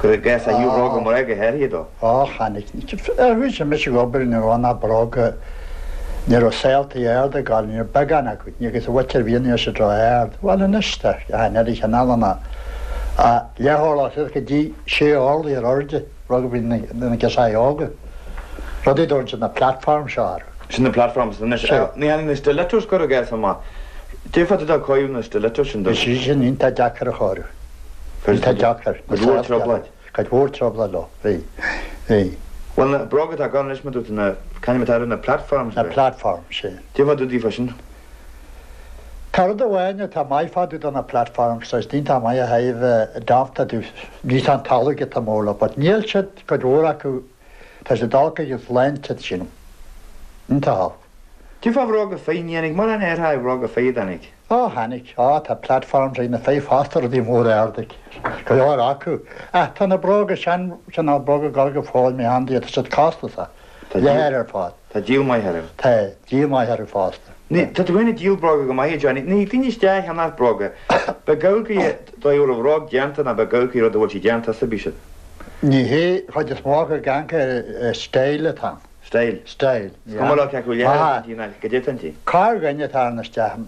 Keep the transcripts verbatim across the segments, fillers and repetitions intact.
Cuir i gcás a thaobh bhróga mná go háirithe dó. Á, tháinig. Bhí mise ag obair ní raibh na bróga, ní raibh saoltaí arda ag gabháil, ní raibh beagán acu, ní agus a mhuintir bhí an siad ró-ard. Bhuel anois tá an oiread cineálanna leath-orlach suas go dtí sé orlaí ar airde, rud a bhí na girseachaí óga. Rudaí a dtugann siad na platforms seo orthu. Sin na platforms anois. Ní tháinig na stilettos cuir i gcás amach. D'fhéadfá tú dul cóiriú na stilettos sin do. Bhí sí sin iontach deacair a chóiriú. Iontach deacair. Cuid mhór trioblóid. Cuid mhór trioblóid leo. Bhí. Bhí. Bhuel na bróga atá ann anois mar dúirt tú na, c'ainm atá orthu, na platforms? Na platforms, sin. D'fhéadfá tú daofa sin. Tá rud amháin atá maith fá dtaobh de na platforms, is iontach maith a thaobh damta tú, ní an talamh atá mór leo, but níl siad, cuid mhór acu, tá siad olc agus sláinte sin. Iontach olc. Cén fáth bhróga fir, ní tháinig mórán air a bhróga fir a tháinig? Ó, tháinig. Ó, tá platforms ag na fir fosta rudaí móra arda. Go leor acu. Ach tá na bróga sean, cineál bróga ag dul go fóill mé handy, tá siad costasach. Leathair ar fad. Tá díol maith orthu. Tá díol maith orthu fosta. Ní, tá tú féin ag díol bróga go maith, a Johnny. Ní daoine isteach a cheannach bróga. Beidh amharc dóigh a raibh bróg déanta ná beidh amharc rud a bhfuil sí déanta as a bhí siad. Ní hé, chuid is mó acu ag amharc ar style atá ann. Style. Style. Is cuma leo cé acu leathair ná go dtéann tí. Corrdhuine atá ann isteach.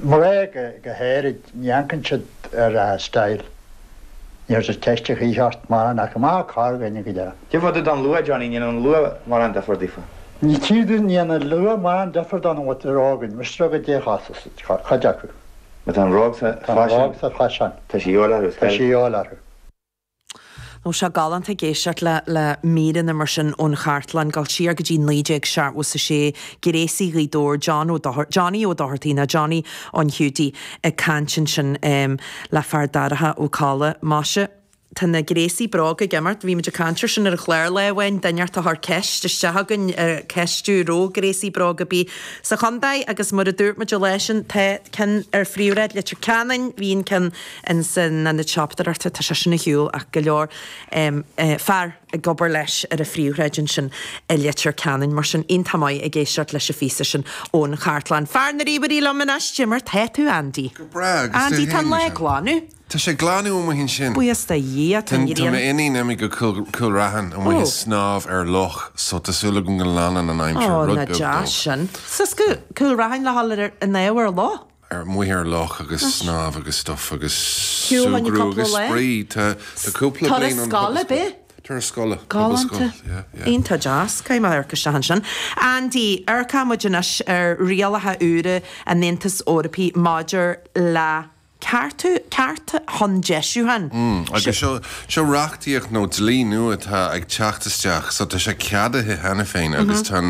Mná go go háirid, ní amharcann siad ar style. Ní raibh siad ceiste choíche ort mórán ach amach corrdhuine go deo. Cén fáth don luath, Johnny, ní an luath mórán difear daofa? Ní tír ní an luath mórán difear don bhfuil rógain, mis go dé chostas, cuid acu. Ma tá an bhróg sa Tá an bhróg sa faisean. Tá sí eol orthu. Tá sí eol orthu. Nó sé galánta ag éisteacht le le míreanna mar sin ón chartlann, dul siar go dtí naoi déag seachtó a sé, gréasaí Ghaoth Dobhair, John Ó Dochartaigh, Johnny Ó Dochartaigh nó Johnny an Hiúdaí ag caint ansin le fear Darach Ó Colla. Maise, tá na gréasaí bróga ag imeacht, bhí muid ag caint air sin ar an chlár lá amháin, duine inteacht a chuir ceist isteach againn, ceistiú raibh gréasaí bróga ar bith sa chontae agus mar a dúirt muid an lá sin, tá ceann ar phríomhshráid Leitir Ceanainn, bhí an ceann in san ionad siopadóireachta, tá sé sin ar shiúl ach go leor fear ag obair leis ar an phríomhshráid ansin i Leitir Ceanainn. Mar sin, iontach maith ag éisteacht leis an phíosa sin ón chartlann. Fear na ríomhairí liom anois, cad é mar tá tú, Andy. Go breá agus Andy, tá an lá ag glanadh. Tá sé glanadh amuigh ansin. Buíochas do Dhia, tá an Tá ghrian. m'iníon imithe go Cúil Raithin amuigh ag snámh ar loch, so tá súil agam go leanann an aimsir Ó, rud na beag deas dóibh. sin. Suas go Cúil Raithin le dhul ar an ábhar ar loch? Ar amuigh ar loch agus snámh agus stuff agus Shiúil súgradh cúpla agus lá. spraoi. Tá tá cúpla Turas bliain an scoile, pobalscoil. b'é? Turas scoile. Galánta. Pobalscoil, yeah, yeah. Iontach deas, caithfidh mé amharc isteach ansin. Andy, amharcfaidh muid anois ar rialacha úra an Aontais Eorpaigh maidir le ceartú, cearta chun deisiúcháin. Mm, agus seo seo reachtaíocht nó dlí nua atá ag teacht isteach, so tá sé ceadaithe cheana féin agus tá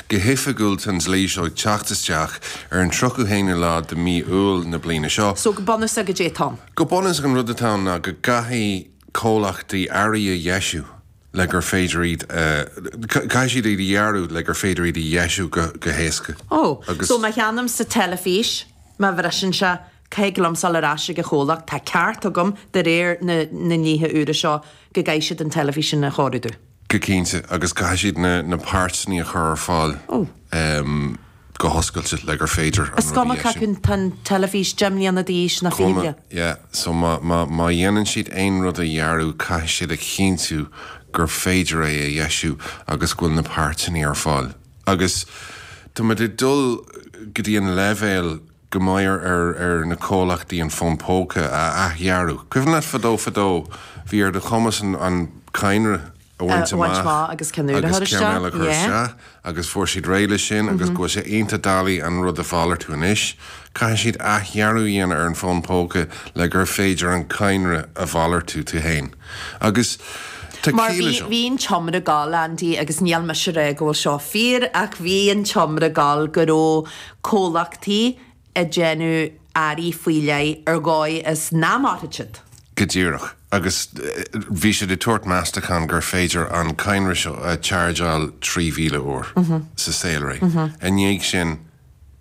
go hoifigiúil tá an dlí seo ag teacht isteach ar an tríocha haonú lá de mí Iúil na bliana seo. So go bunúsach cad é atá ann. Go bunúsach an rud atá ann ná go gcaithfidh comhlachtaí earraí a dheisiú le gur féidir iad caithfidh siad iad a dhearadh le gur féidir iad a dheisiú go go héasca. Ó, Agus- so má cheannaím sa teilifís, má bhriseann sé, caithfidh liom dul ar ais ag an chomhlacht, tá ceart agam de réir na na ndlíthe úra seo go gcaithfidh siad an teilifís sin a chóiriú domh. Go cinnte agus caithfidh siad na na páirteanna a chur ar fáil Ó. um, go hoscailte le gur féidir an Is rud a cuma dheisiú. cé tá an teilifís deich mbliana d'aois nó fiche Cuma, bliain. yeah. So má, má, má dhéanann siad aon rud a dhearadh caithfidh siad a chinntiú gur féidir é a dheisiú agus go bhfuil na páirteanna ar fáil. Agus tá muid ag dul go dtí an leibhéal go mbeidh ar, ar na comhlachtaí an fón póca a athdhearadh. Cuimhin leat fadó fadó bhí ar do chumas an, an cadhnra a bhaint A bhaint amach amach agus ceann úr a agus chur ceann isteach, eile a chur yeah. isteach, agus fuair siad réidh leis sin agus go bhfuil sé iontach doiligh an rud a mhalartú anois. Caithfidh siad athdhearadh a dhéanamh ar an fón póca le gur féidir an cadhnra a mhalartú tú féin. Agus tá Mar ciall bhí seo. bhí an t-iomrá ag gabháil Andy agus níl mise ag rá go bhfuil seo fíor ach bhí an t-iomrá ag gabháil go raibh comhlachtaí ag déanamh earraí faoi leith ar dhóigh is nach mairfidh siad. Go díreach agus eh, bhí siad ag tabhairt meastachán gur féidir an cadhnra seo a chargeáil trí mhíle uair sa saolré. I ndiaidh sin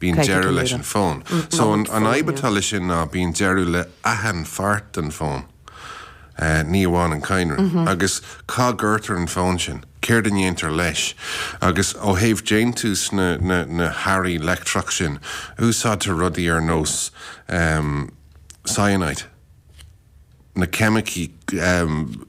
bíonn Caithfidh deireadh tú leis úr. an fón. So an an fhadhb atá leis sin ná bíonn deireadh le achan pháirt den fón. Uh, ní amháin an cadhnra. Agus cá gcuirtear an fón sin, céard a dhéantar leis, agus ó thaobh déantús na, na, na hearraí leictreach sin, úsáidtear rudaí ar nós um, cyanide. Na ceimicí um,